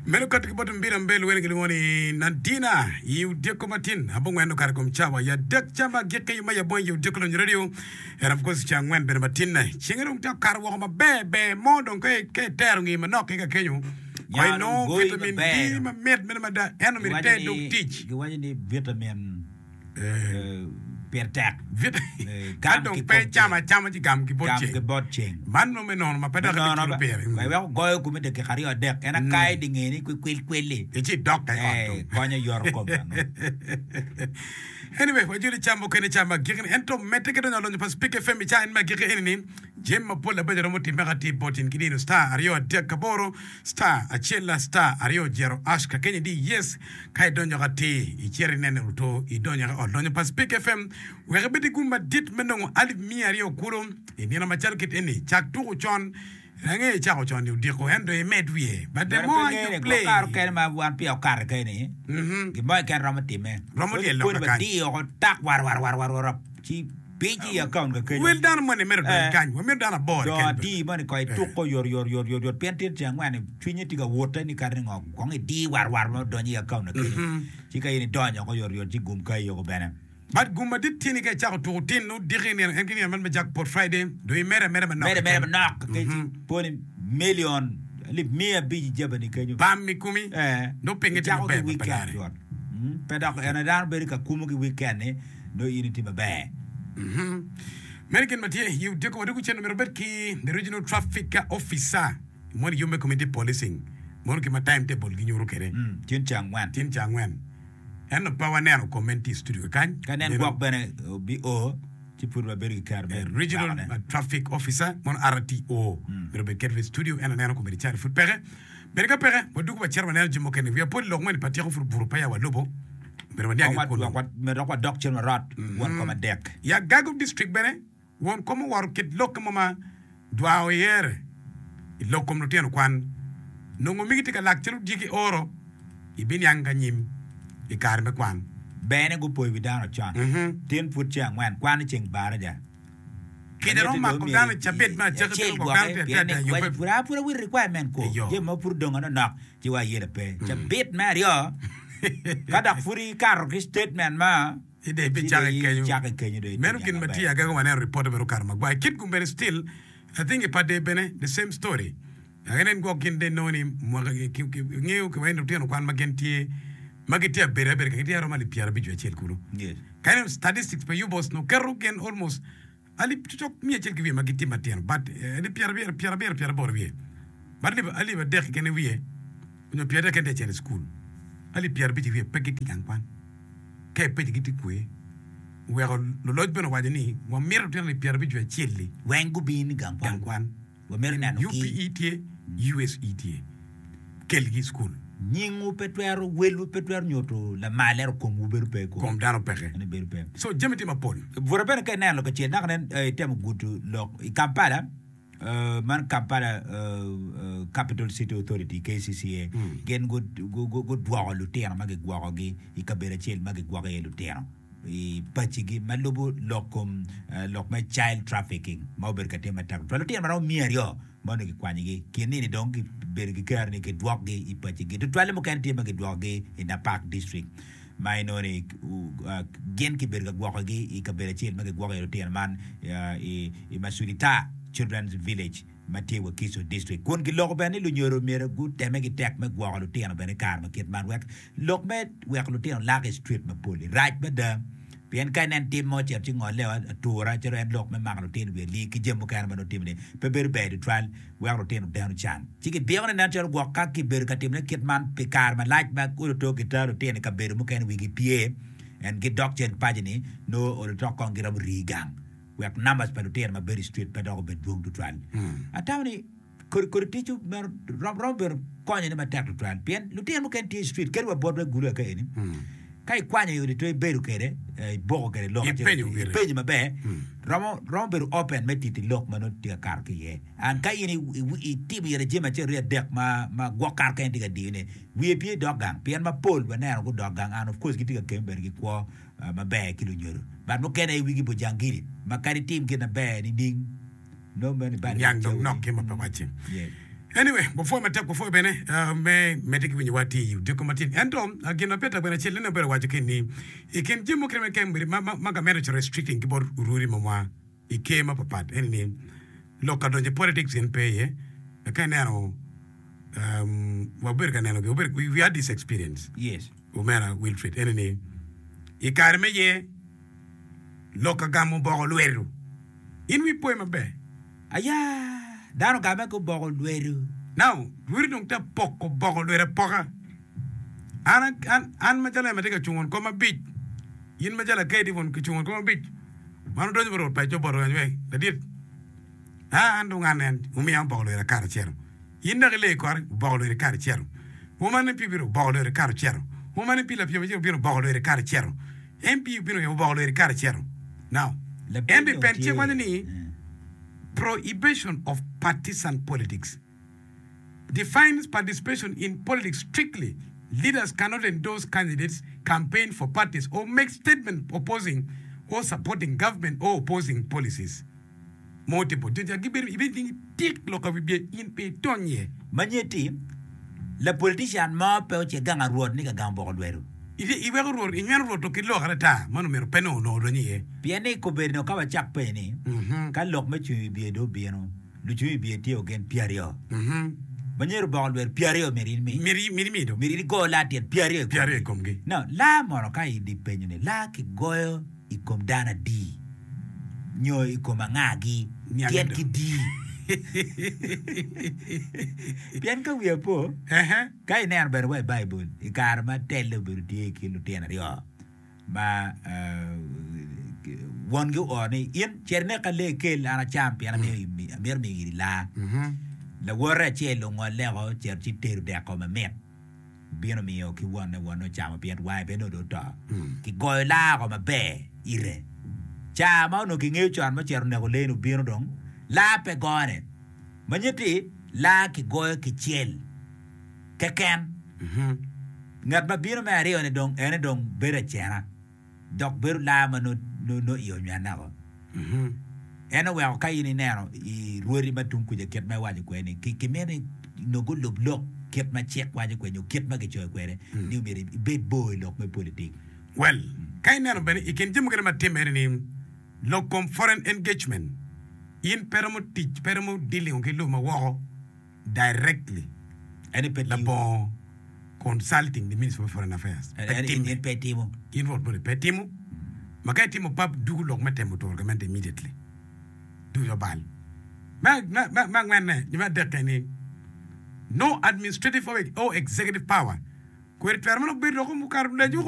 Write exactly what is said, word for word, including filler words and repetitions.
Meno kato ki bot mbira mbel wene kilwongo ni Nadina i odiko matin abongwen okato kom cawa ya adek ca ma agikki ma yabong i odiko lonyo radio and of course ca angwen bene matinne cenge dong tye okato woko maber ber mo dong ka ka itero ngi manok ki ka kenyo ko Nya dong inongo goyi vitamin maber D dong. mamit meno mada ento myero Giwaco iter dog ni tic giwaco ni vitamin Eh, eh, pire tek. vit- Eh, ka gam dong ki pe kom icamo ceng. acama ci gam ki bot Gam ceng ki bot ceng. man nongo me nono ma pe Me dok nono ibiculo ba pire wek weko goyo komi dakika aryo adek en akai di nge ni kwil kwil-li ci idok ka i ot eh, dong konyo yoto kom dano. anyway wajoli cam mukene cam agikki ento medde ki donyo alonyo pa Speak FM i ca en me agikki eni ni jami mapol abeco romo timme ka tye bot in ki dino star aryo adek aboro star acel star aryo jero ash ka kenyo di yes ka idonyo ka tir icito inene oto idonyo ka ot lonyo pa Speak FM wek ibed ki gum madit me nongo alip miya aryo kulu i nino macalo kit eni cak tuko con ange icako con ni odiko ento imed wiye but the Bene pe more ngene you gwok play kare okene ma wan peya okato keni Mhm. gin mo keken romo timme. Romo Kodi lyel kodi loka kany. wadiyo oko tak war war war war war ci pic i account ka kenyo. Wel dano moni mere odony Eh. kany wamito dano aboro Do keken adi moni ko ituko yor yor yor yor yor pien tye tyen angwen cwinye tye ka wote ni kadi ni ngo kong idi war war ma odonyo i account na kenyo. Ci ka in idonyo oko yor yor ci gum kai yoko bene. But gum madit tye ni ka icako tuko tin nongo diki nino en ki nino man me jackpot Friday dong imede ameda manok Mede mede keken. manok kec poni million alip miya abic i jabani kenyo. Bam i komi Eh, nongo pinge tye icako ki maber ma pe weekend lare. cut. Mm, Pe dok en dano bedo ka kumo ki weekend ni nongo in itye maber. Meno gin ma tye i odiko wadiko cen myero obed ki the regional traffic officer mono yub me community policing mono ki ma timetable ginyuto kwede Mm, Tin ca angwen. tin ca angwen ento pe waneno comment i studio kany Ka nen Meno, gwok bene obi o ci pud wabedo ki kero me regional wakone. uh, traffic officer mono RTO myero obed kede i studio en aneno komedi cari pud peke bene ka peke wadugo wacito waneno jami mukene wiya pol lok moni pa tyeko pud obuto peya walubo myero waniang Kong i kunu wa- wa- Myero dok wadok cen warot won kom adek. Ya Gago district bene won kom oworo kit lok mo ma dwao iyere i lok kom lutino kwan nongo migi tye ka lak calo dyegi oro ibiniang ka nyim i kare me kwan Bene gupoyo wi dano con. Mhm. Tin pud ceng angwen kwan i ceng baraja. Kica romo mako dano i cabit me acaki acel bino gwok dano gwoke tye pien ata ni yubbe waci pud a pud awiro requirement ko Eyo. jami ma pud odong anonok ci wa ayela pe cabit me aryo ka dok pud ikato ki statement ma ide ci ibicako dong i kenyo icako i kenyo dong meno itye gin ma maber. tye agaga waneno report bene okato magwar kit kum bene still I think i pade bene the same story enen gwok gin de nongo ni mwaka ki- ki- ki- ngeyo ki wai lutino kwan ma gin tye ma gitye abeda abeda ka gitye aromo alip pyerabic wiye acel kulu Yes. ka ineno statistics pa UBOS no keto gin almost alip cocok miya acel ki wiye ma gitye matino but eh, alip pyerabiro pyerabiro pyeraboro wiye but alip alip adek keken wiye onyo pyeradek keken tye acel i school alip pyerabic i wiye pe gitye i gang kwan ka ipenyo gitye kwe oweko luloc bene owaco ni wamito lutino alip pyerabic wiye acel-li Weng gubin i gang gang kwan kwan wamito neno ki UPE tye USE tye kelgi i school nyingwu pe twero welwu pe twero nyuto lamal ento komwu bedo pe ko kom dano peke Ene bedo pe so jami tye mapol Bura bene ka ineno kacel naka nen eh, itemo gudo lok i Kampala eh, man Kampala eh, eh, Capital City Authority KCCA gin gu- gu- gu- gudwoko lutino ma gigwokogi i kabedo acel ma gigwoko iye lutino i pacigi ma lubo lok kom eh, lok me child trafficking ma obedo ka timme matek tutwal lutino maromo miya aryo ma onongo gikwanyogi kin nini dong gibedo ki kero ni gidwokgi i pacigi tutwalle mukene tye ma gidwokogi i Napak district ma inongo ni uh, gin kibedo ka gwokogi i kabedo acel ma gigwoko iye lutino man uh, i, i Masulita Children's Village ma tye Wakiso district kun giloko bene ni lunyodo myero guteme ki tek me gwoko lutino bene i kare ma kit man wek lok me weko lutino lak i street mapol rac mada pien ka inen tim mo ocito ci ngole atura calo en lok me mako lutino wiye alii ki jami mukene ma nongo timone pe bedo ber tutwal weko lutino deno can ci gibiko ni nen calo gwok ka kibedo ka timone kit man pi kare malac ma olo to gitero lutino i kabedo mukene wigi pye en gidok cen paco ni nongo olo tok kong giromo rii gang wek numbers pa lutino ma bedo i street pe dok obed dwong tutwal atamo ni kodi kodi tic meno rom romo bedo konyone matek tutwal pien lutino mukene tye i street kadi wa botwa i Gulu ka eni ka ikwanyo i odi to ibedo kwede eh, iboko kwede lok acel Ipenyo gire. ipenyo maber romo romo bedo open me titi lok ma nongo tye ka kato ki iye and ka in i- i- itimo ire jami acel aryo adek ma ma gwok kato kene tye ka diyone wiye pye dok gang pien mapol waneno gudok gang and of course gitye ka kemme bene ki kwo uh, maber ki lunyodo but mukene i wigi bojangili ma kadi tim gin maber nining nongo meno ibalo niang dong cawani. nok ki ma pe wacci Yeah. Anyway, wapwoyo matek, wapwoyo bene uh, me medde ki winyowa tye i odiko matin. Ento uh, gin ma pire bene acel nene obedo waco ki ni i kin jami mukene ma kem ma, ma, ma gamente oceto restricting ki bot orudi mamwa i ker mapapat eni ni lok ka donyo i politics gin pe iye. Ka ineno um, wabedo ka neno wabedo, we, we had this experience Yes. omera Wilfred eni ni i kare me ye lok ka gamo boko lwedo in wi poyo maber Aya, dano game ko boko lwedo. Now, lweri dong te poko boko lwedo apoka. An, an, an macalo em atye ka cungo kom abic, in macalo akedi won kicungo kom abic, wan odonyo bot paco boto kany ladit. Ah, an dong an en, umiya boko lwedo akara acel. In dok ile kore, boko lwedo kara acel. Woman M P bino boko lwedo kara acel. Woman M P lapiem acel bino boko lwedo kara acel. M P bino boko lwedo kara acel. Now, Lapeny en dong pen tye. cik waco ni Eh. prohibition of partisan politics defines participation in politics strictly. Leaders cannot endorse candidates, campaign for parties, or make statements opposing or supporting government or opposing policies. Multiple. Jo gibedo ibed tik lok wibye in pe itonye. Manyeti, la politician mo pe oce gang arwot ni ka gamo boko lwedo. Ite iweko rwot inyweno rwot to ki lok ata man omyero pe no onongo donyo iye. Pien ni kobedo no ka wacak pe ni, Mhm. ka lok me cung i bye do obino, lucung i bye tye ogen pyeraryo. Mhm. Manyero boko lwedo pyeraryo myero in mi. Miri miri mido. Myero in igo laa tyen pyeraryo i Pyeraryo i komgi. komgi. No, laa mono ka idi penyo ni laa kigoyo i kom dano adi nyo i kom angagi Niang tyen do. ki di. Pien ka wiya po, Ehe. ka ineno bene wa i Baibul, i kare ma telle obedo tye i kin lutino aryo, ma uh, wongi ooro ni in cit inek ka lee kel an acam pien amito amito miyo iri laa. Mhm. Lawote acel ongolle cito ci tedo deko mamit bino miyo ki wonne wonne ocamo pien wange bene onongo dong oto. Kigoyo laa oko maber ire. Ca ma onongo kingeyo con ma ocito oneko lee ni obino dong laa pe gone. Manyeti laa kigoyo kicel keken. Mhm. Ngat ma bino me aryo ni dong ene dong bedo acena dok bedo laa ma no, no, no iyo onywene oko. Mhm. En oweko ka in ineno i rwodi ma tung kuca kit ma iwaco kwede ni ki- kimito ni nongo gulub lok kit ma cik waco kwede nyo kit ma kicoyo kwede ni omyero ibed bor i lok me politik. Well, ka ineno bene i kin jami mukene ma timme ni lok kom foreign engagement in pe romo tic pe romo dealing ki lobo ma woko directly Ene pe tiyo. labongo consulting the Minister of Foreign Affairs. Pe En, en, timme. en pe timo. In rwot bode pe timo. Ma ka itimo pap dugu lok me temo turo gamente immediately. Dugu obal. Me me me me angwenne nyo me adekke ni no administrative or, or executive power. Kweri twero manok bedo loko mukato lejuko